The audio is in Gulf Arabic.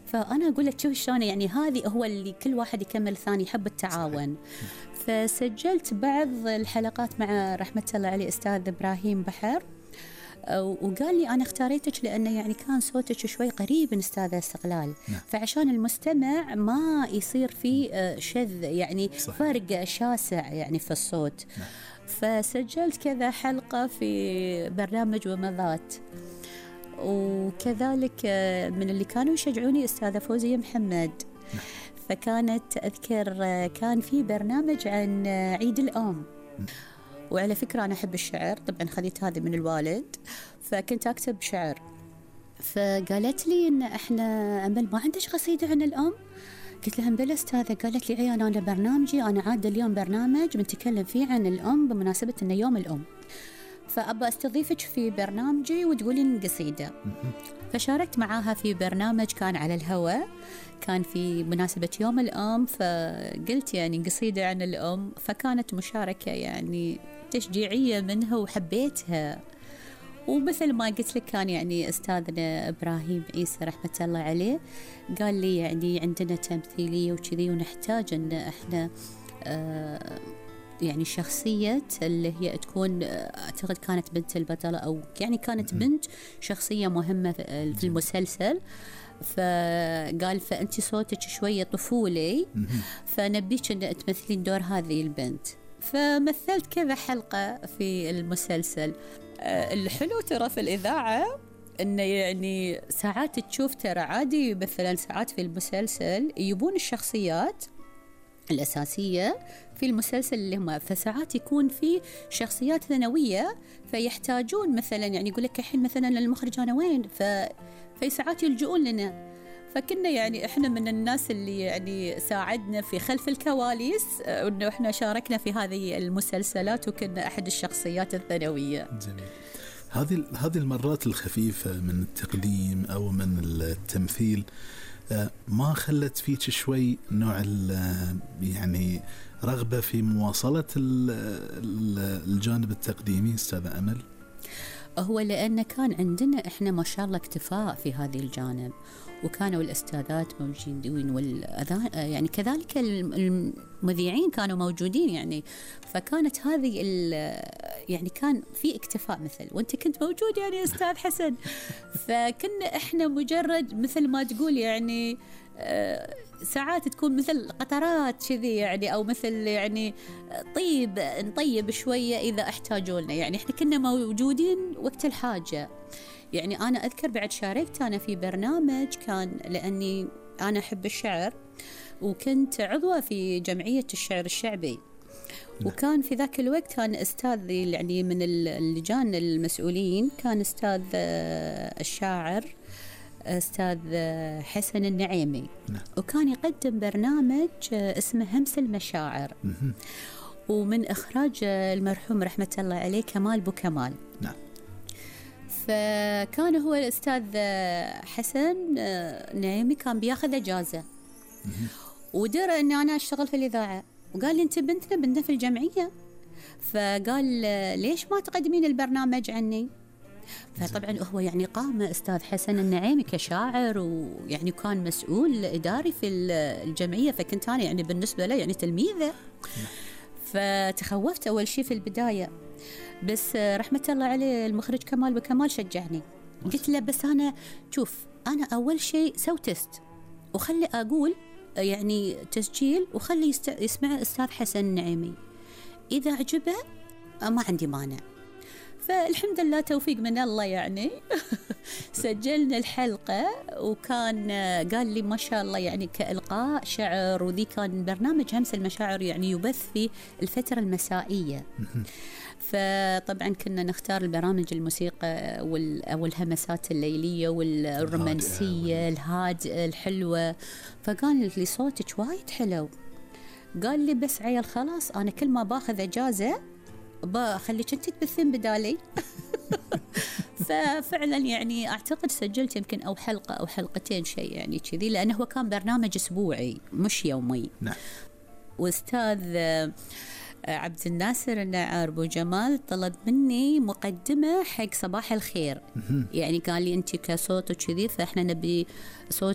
فأنا أقول لك شوف شلون يعني هذه هو اللي كل واحد يكمل الثاني، يحب التعاون. فسجلت بعض الحلقات مع رحمة الله عليه أستاذ إبراهيم بحر، وقال لي أنا اختاريتك لأنه يعني كان صوتك شوي قريب من أستاذة استقلال. فعشان المستمع ما يصير فيه شذ يعني فرق شاسع يعني في الصوت. فسجلت كذا حلقة في برنامج ومضات، وكذلك من اللي كانوا يشجعوني أستاذة فوزية محمد. فكانت أذكر كان في برنامج عن عيد الأم، وعلى فكرة أنا أحب الشعر، طبعا خذيت هذه من الوالد، فكنت أكتب شعر. فقالت لي إن إحنا أمل ما عندش قصيدة عن الأم؟ قلت لها بلا أستاذة. قالت لي عيان أنا برنامجي أنا عاد اليوم برنامج بنتكلم فيه عن الأم بمناسبة إنه يوم الأم، فأبى أستضيفك في برنامجي وتقولين قصيدة. فشاركت معاها في برنامج كان على الهواء، كان في مناسبة يوم الأم، فقلت يعني قصيدة عن الأم، فكانت مشاركة يعني تشجيعية منها وحبيتها. ومثل ما قلت لك كان يعني أستاذنا إبراهيم عيسى رحمة الله عليه قال لي يعني عندنا تمثيلية وكذي، ونحتاج أن إحنا يعني شخصية اللي هي تكون أعتقد كانت بنت البطلة، أو يعني كانت بنت شخصية مهمة في المسلسل. فقال فأنت صوتك شوية طفولي، فنبيك أن تمثلين دور هذه البنت. فمثلت كذا حلقة في المسلسل. الحلو ترى في الإذاعة إنه يعني ساعات تشوف ترى عادي، مثلا ساعات في المسلسل يبون الشخصيات الأساسية في المسلسل اللي هم، فساعات يكون في شخصيات ثانوية فيحتاجون مثلا يعني يقول لك الحين مثلا المخرج أنا وين، في ساعات يلجؤون لنا. فكنا يعني إحنا من الناس اللي يعني ساعدنا في خلف الكواليس، إنه إحنا شاركنا في هذه المسلسلات وكنا أحد الشخصيات الثانوية. جميل. هذه المرات الخفيفة من التقديم أو من التمثيل ما خلت فيك شوي نوع يعني رغبة في مواصلة الجانب التقديمي أستاذة أمل؟ هو لأن كان عندنا إحنا ما شاء الله اكتفاء في هذه الجانب، وكانوا الأستاذات موجودين يعني كذلك المذيعين كانوا موجودين يعني. فكانت هذه يعني كان في اكتفاء، مثل وانت كنت موجود يعني أستاذ حسن. فكنا إحنا مجرد مثل ما تقول يعني ساعات تكون مثل قطرات كذي يعني، أو مثل يعني نطيب شوية إذا احتاجوا لنا يعني. إحنا كنا موجودين وقت الحاجة يعني. أنا أذكر بعد شاركت أنا في برنامج كان لأني أنا أحب الشعر، وكنت عضوة في جمعية الشعر الشعبي. وكان في ذاك الوقت كان أستاذ يعني من اللجان المسؤولين كان أستاذ الشاعر أستاذ حسن النعيمي. وكان يقدم برنامج اسمه همس المشاعر، ومن إخراج المرحوم رحمة الله عليه كمال بوكمال. فكان هو الأستاذ حسن نعيمي كان بياخذ إجازة، ودرى أن أنا أشتغل في الإذاعة، وقال لي أنت بنتنا في الجمعية، فقال ليش ما تقدمين البرنامج عني؟ فطبعا هو يعني قام أستاذ حسن النعيمي كشاعر، ويعني كان مسؤول إداري في الجمعية، فكنت أنا يعني بالنسبة له يعني تلميذة. فتخوفت أول شيء في البداية، بس رحمة الله عليه المخرج كمال بكمال شجعني. قلت له بس أنا شوف أنا أول شيء سوي تست، وخلي أقول يعني تسجيل، وخلي يسمع أستاذ حسن النعيمي، إذا عجبه ما عندي مانع. فالحمد لله توفيق من الله يعني. سجلنا الحلقة، وكان قال لي ما شاء الله يعني كإلقاء شعر، وذي كان برنامج همس المشاعر يعني يبث في الفترة المسائية. فطبعا كنا نختار البرامج الموسيقى أو الهمسات الليلية والرومانسية الهادئة الحلوة. فقال لي صوتك وايد حلو. قال لي بس عيال خلاص أنا كل ما باخذ إجازة بخليك أنت تبثين بدالي. ففعلا يعني أعتقد سجلت يمكن أو حلقة أو حلقتين شيء يعني كذي، لأنه هو كان برنامج أسبوعي مش يومي. نعم. وأستاذ عبد الناصر النعار أبو جمال طلب مني مقدمة حق صباح الخير. يعني قال لي أنت كصوت وكذي، فإحنا نبي صوت